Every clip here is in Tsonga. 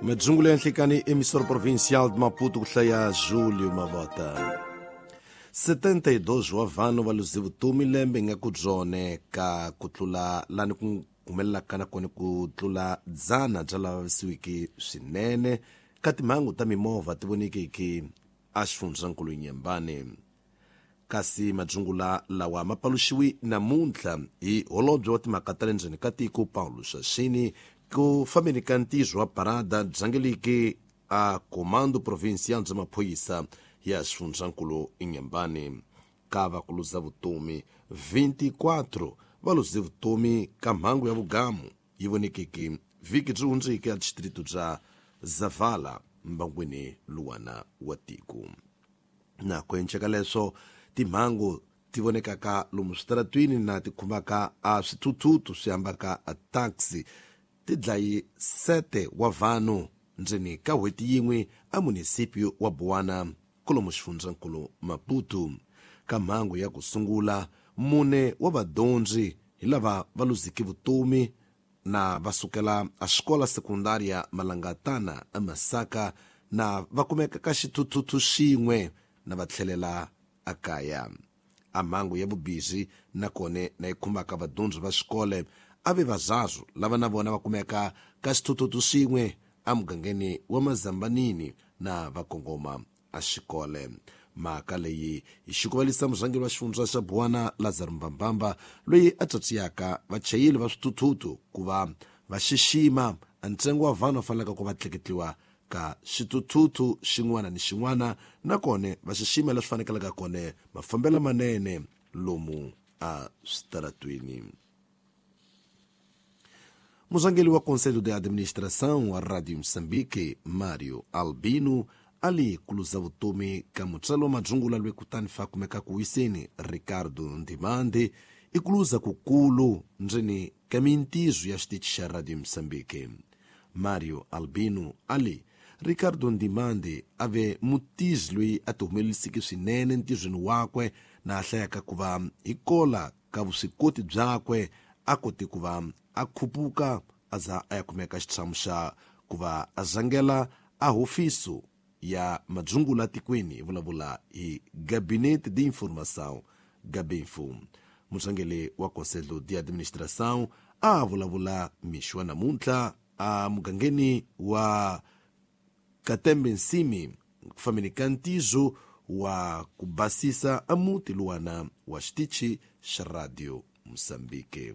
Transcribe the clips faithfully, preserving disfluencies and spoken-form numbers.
Madzungula ya nhlikani emissora provincial de Maputo ku hlaya Júlio Mavota. setenta e dois wa vanhu va luze vutomi lembe nga ku byone ka ku tlula lani ku humelelaka na kona ku tlula dzana bya lava vavisiweke swinene ka timhangu ta mimovha ti vonekeke a xifundzankulu Nyembane. Kasi madzungula lawa ma paluxiwi namuntlha hi holobye wa timhaka ta le ndzeni ka tiko Paulo Xaxini ku fambeni ka ntirho wa parada byangeleke a Comando Provincial bya Maphorisa ya xifundzankulu Nyembane. Ka va ku luza vutomi vinte e quatro va luze vutomi ka mhangu ya vugamu yi vonekeke vhiki byi hundzeke a distrito bya Zavala mbangwini luwana wa tiko. Na ku enceka leswo timhangu ti vonekaka lomu switaratwini na ti khumbaka a swithuthuthu swi hambaka a taxi ti dlayi sete wa vanhu ndzeni ka n'hweti yin'we a munisipio wa Buwana kolomu xifundzankulu Maputo. Ka mhangu ya ku sungula mune wa vadyondzi hi lava va luzeke vutomi na va sukela a xikola sekundaria Malangatana a Masaka na va kumeka ka xithuthuthu xin'we na va tlhelela a kaya. A mhangu ya vubizi na kone na yi khumbaka vadyondzi va xikole a ve vazazu lava na vona va kumeka ka xithuthuthu xin'we a mugangeni wa Mazambanini na va kongoma a xikole. Mhaka leyi hi xikuvalisa murhangeri wa xifundza xa Buwana Lazaro Mbambamba loyi a tsatsiyaka vachayeri va swithuthuthu ku va va xixima a ntsengo wa vanhu va faneleke ku va tleketliwa ka xithuthuthu xin'wana ni xin'wana na kone va xixima leswi fanekelaka kone mafambelo manene lomu a switaratwini. Murhangeri wa Conselho de Administração wa Radio Moçambique, Mário Albino, ali kuluza vutomi ka mutsalo wa madzungula lwe kutani fa kumeka ku wiseni Ricardo Ndimande i kuluza kukulu ndzeni ka mintizo ya xitichi xa Radio Moçambique. Mário Albino ali Ricardo Ndimande a ve mutizi loyi a ti humeleliseke swinene ntizweni wakwe na a hlayaka ku va hi kola ka vuswikoti byakwe a kote ku va a khupuka a za a ya kumeka xitshamo xa ku va a zangela a hofiso ya madzungula tikweni vulavula hi Gabinete de Informação Gabinfo. Murhangeri wa Conselho de Administração a vulavula mixo wa namuntlha a mugangeni wa Katembe Nsimi ku fambeni ka ntizo wa ku basisa a muti luwana wa xitichi xa Radio Moçambique.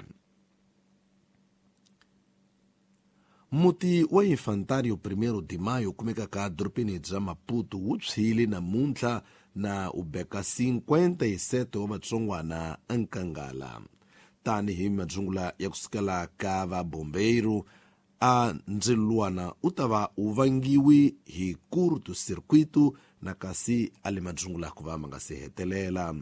Muti wa Infantário Primeiro de Maio kumekaka dorobeni bya Maputo wu tshwile namuntlha na u beka cinquenta e sete wa vatsongwana enkangala. Tanihi madzungula ya kusukela ka va bombeiro a ndzilo luwana u ta va u vangiwi hi curto-circuito na kasi a le madzungula ku va ma nga se hetelela.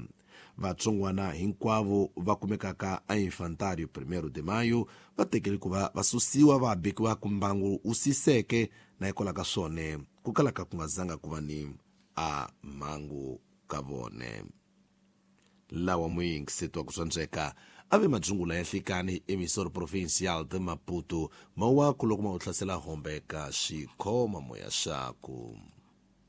Vatsongwana hinkwavo va kumekaka a Infantário Primeiro de Maio va tekele ku va va susiwa va bekiwa ku mbangu wu siseke na hikwalaho ka swone ku kalaka ku nga zanga ku va ni a mhangu ka vone. Lawa muyingiseti wa ku swandzeka a ve madzungula ya nhlikani emissora provincial de Maputo mawaku loko ma u hlasela hombe ka xikhoma moya xaku.